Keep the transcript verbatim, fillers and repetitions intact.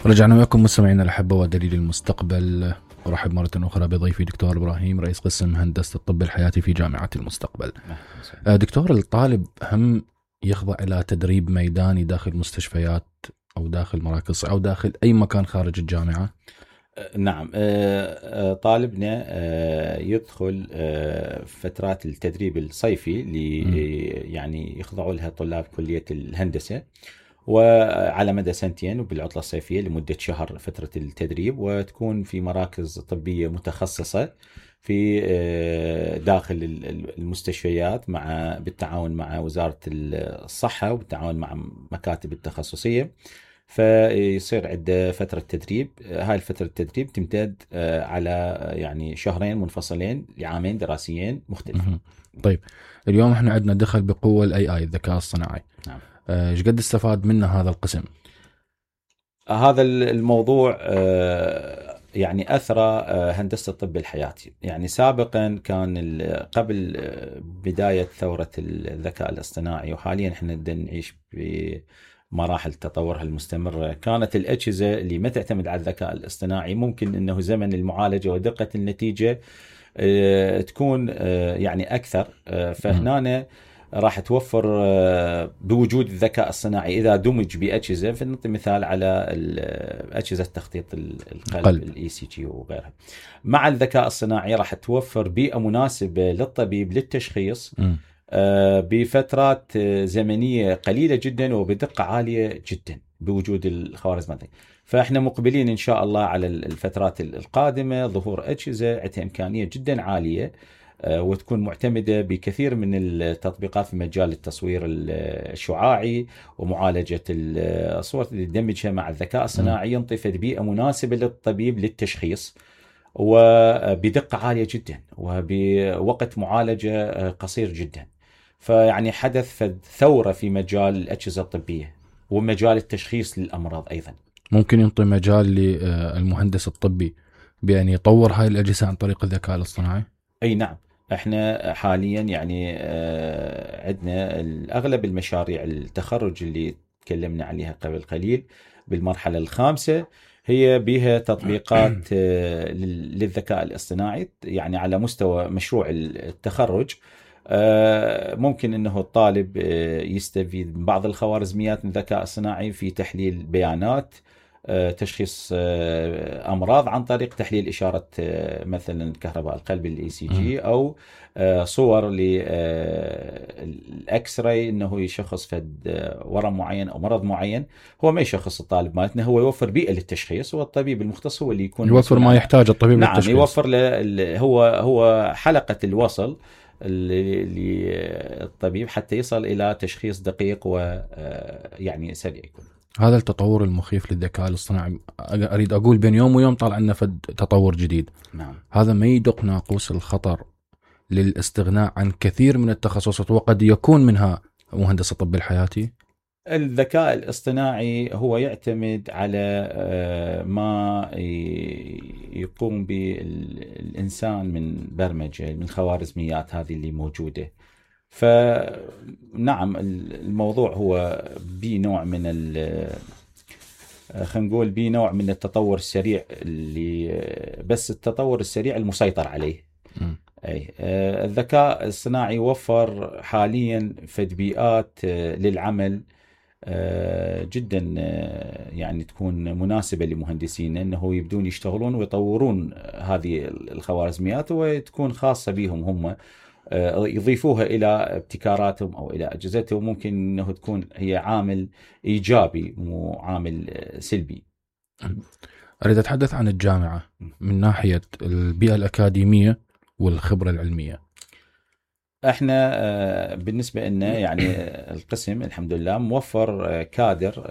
رجعنا وياكم مستمعينا الأحبة ودليل المستقبل. أرحب مرة أخرى بضيفي دكتور إبراهيم رئيس قسم هندسة الطب الحياتي في جامعة المستقبل. دكتور، الطالب هم يخضع إلى تدريب ميداني داخل مستشفيات أو داخل مراكز أو داخل أي مكان خارج الجامعة؟ نعم، طالبنا يدخل فترات التدريب الصيفي اللي يعني يخضعوا لها طلاب كلية الهندسة، وعلى مدى سنتين وبالعطلة الصيفية لمدة شهر فترة التدريب، وتكون في مراكز طبية متخصصة في داخل المستشفيات مع بالتعاون مع وزارة الصحة وبالتعاون مع مكاتب التخصصية. فيصير عند فترة تدريب، هاي الفترة التدريب تمتد على يعني شهرين منفصلين لعامين دراسيين مختلفين. طيب، اليوم احنا عندنا دخل بقوة الاي اي الذكاء الصناعي. نعم. ايش قد استفاد منه هذا القسم؟ هذا الموضوع يعني أثرى هندسة الطب الحياتي. يعني سابقا كان قبل بداية ثورة الذكاء الاصطناعي، وحاليا احنا نعيش بمراحل تطورها المستمرة، كانت الأجهزة اللي ما تعتمد على الذكاء الاصطناعي ممكن أنه زمن المعالجة ودقة النتيجة تكون يعني أكثر. فهنا راح توفر بوجود الذكاء الصناعي إذا دمج بأجهزة، فنعطي مثال على أجهزة تخطيط القلب الإي سي جي وغيرها. مع الذكاء الصناعي راح توفر بيئة مناسبة للطبيب للتشخيص م. بفترات زمنية قليلة جدا وبدقة عالية جدا بوجود الخوارزميات. فإحنا مقبلين إن شاء الله على الفترات القادمة ظهور أجهزة عندها إمكانية جدا عالية وتكون معتمدة بكثير من التطبيقات في مجال التصوير الشعاعي ومعالجة الصور اللي تدمجها مع الذكاء الصناعي، ينطي بيئة مناسبة للطبيب للتشخيص وبدقة عالية جدا وبوقت معالجة قصير جدا. فيعني حدث ثورة في مجال الأجهزة الطبية ومجال التشخيص للأمراض أيضا. ممكن ينطي مجال للمهندس الطبي بأن يطور هاي الأجهزة عن طريق الذكاء الاصطناعي؟ أي نعم، احنا حاليا يعني عندنا اغلب المشاريع التخرج اللي تكلمنا عليها قبل قليل بالمرحلة الخامسة هي بها تطبيقات للذكاء الاصطناعي. يعني على مستوى مشروع التخرج ممكن انه الطالب يستفيد من بعض الخوارزميات من الذكاء الصناعي في تحليل بيانات، تشخيص أمراض عن طريق تحليل إشارة مثلا كهرباء القلب الإي سي جي، أو صور للإكس راي إنه يشخص فد ورم معين أو مرض معين. هو ما يشخص الطالب مالتنا، هو يوفر بيئة للتشخيص، والطبيب المختص هو اللي يكون يوفر ما يحتاج الطبيب نعم للتشخيص. يوفر له هو هو حلقة الوصل للطبيب حتى يصل إلى تشخيص دقيق ويعني سريع يكون. هذا التطور المخيف للذكاء الاصطناعي، أريد أقول بين يوم ويوم طالع لنا فد تطور جديد. نعم. هذا ما يدق ناقوس الخطر للاستغناء عن كثير من التخصصات وقد يكون منها مهندس الطب الحياتي. الذكاء الاصطناعي هو يعتمد على ما يقوم بالإنسان من برمجة من خوارزميات هذه اللي موجودة. فنعم الموضوع هو بنوع من خلينا نقول بنوع من التطور السريع اللي بس التطور السريع المسيطر عليه. م. أي الذكاء الصناعي وفر حاليا تطبيقات للعمل جدا يعني تكون مناسبة لمهندسين انه يبدون يشتغلون ويطورون هذه الخوارزميات وتكون خاصة بهم هم، يضيفوها إلى ابتكاراتهم أو إلى أجهزتهم. ممكن أنه تكون هي عامل إيجابي مو عامل سلبي. أريد أتحدث عن الجامعة من ناحية البيئة الأكاديمية والخبرة العلمية. احنا بالنسبة لنا يعني القسم الحمد لله موفر كادر